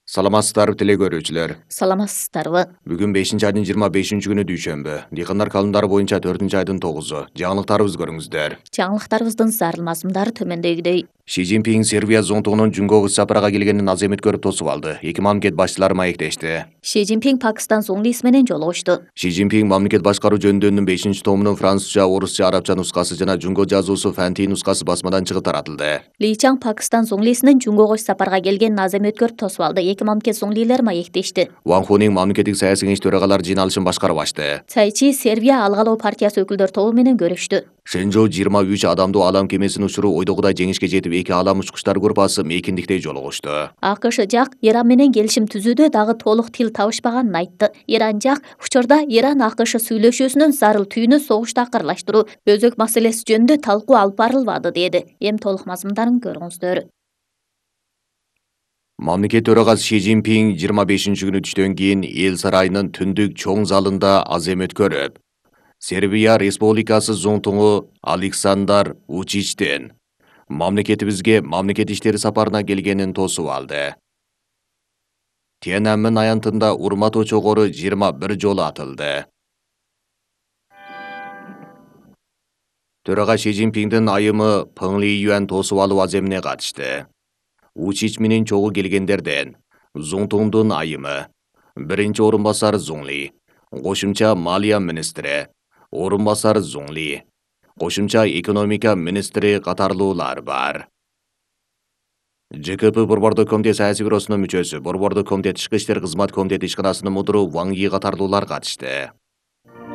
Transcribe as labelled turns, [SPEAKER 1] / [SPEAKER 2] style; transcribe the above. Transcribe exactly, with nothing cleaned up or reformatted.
[SPEAKER 1] Саламатсыздарбы теле көрүүчүлөр.
[SPEAKER 2] Саламатсыздарбы.
[SPEAKER 1] Бүгүн бешинчи айдын жыйырма бешинчи күнү дүйшөмбү. Дыйкандар календары боюнча төртүнчү айдын тогузу. Жаңылыктарыбызды көрүңүздөр.
[SPEAKER 2] Жаңылыктарыбыздын зарыл мазмундары төмөндөгүдөй.
[SPEAKER 1] Ши Цзиньпин Сербия зонтугунун Жумгого сапарга келгенин аз эмет көрүп тосуп алды. Эки мамлекет башчылары маектешти.
[SPEAKER 2] Ши Цзиньпин Пакистан зуңлиси менен жолугушту.
[SPEAKER 1] Ши Цзиньпин мамлекет башкаруу жөнүндөнүн бешинчи томунун французча, орусча, арабча нускасы жана жунго жазуусу фэнти нускасы басмадан чыгып таратылды.
[SPEAKER 2] Ли Чаң Пакистан зуңлисинин Жумгого сапарга келгенин аз эмет көрүп тосуп алды. Эки мамлекет зуңлилери маектешти.
[SPEAKER 1] Ван Хунин мамлекеттик саясий кеңеш төрагалары жыйналышын башкарып ачты.
[SPEAKER 2] Цай Чи Сербия алгалоо партиясы өкүлдөр тобу менен көрүштү.
[SPEAKER 1] Шенжоу жыйырма үч адамдуу алам кемесинин учуру ойдогудай жеңишке жетип, эки алам учкучтар группасы мейкиндикте жолугушту.
[SPEAKER 2] АКШ жак Иран менен келишим түзүүдө дагы толук тил табышпаганын айтты. Иран жак учурда Иран АКШ сүйлөшүүсүнүн зарыл түйүнү согушту акырылаштыруу, өзөк маселеси жөнүндө талкуу алып барылбады деди. Эми толук мазмундарын көрүңүздөр.
[SPEAKER 1] Мамлекет төрагасы Ши Цзиньпин жыйырма бешинчи күнү түштөн кийин эл сарайынын түндүк чоң залында аз эмет көрүп, Сербия Республикасы зонтугу Александар Вучичтин мамлекетибизге мамлекет иштери сапарына келгенин тосуп алды. Тиананмен аянтында урмат очогору жыйырма бир жолу атылды. Төрага Ши Цзиньпиндин айымы Пeng Лиюан тосуп алуу аземине катышты. Вучич менен чогуу келгендерден Зонтуңдун айымы, биринчи орун басар Зуңли, кошумча малия министри, орун басар Зуңли, кошумча экономика министри катарлуулар бар. ЖКП Борбордук комитет саясий бюросунун мүчөсү, Борбордук комитет ички иштер кызмат комитети ишканасынын мудуру Ван Ги катарлуулар катышты.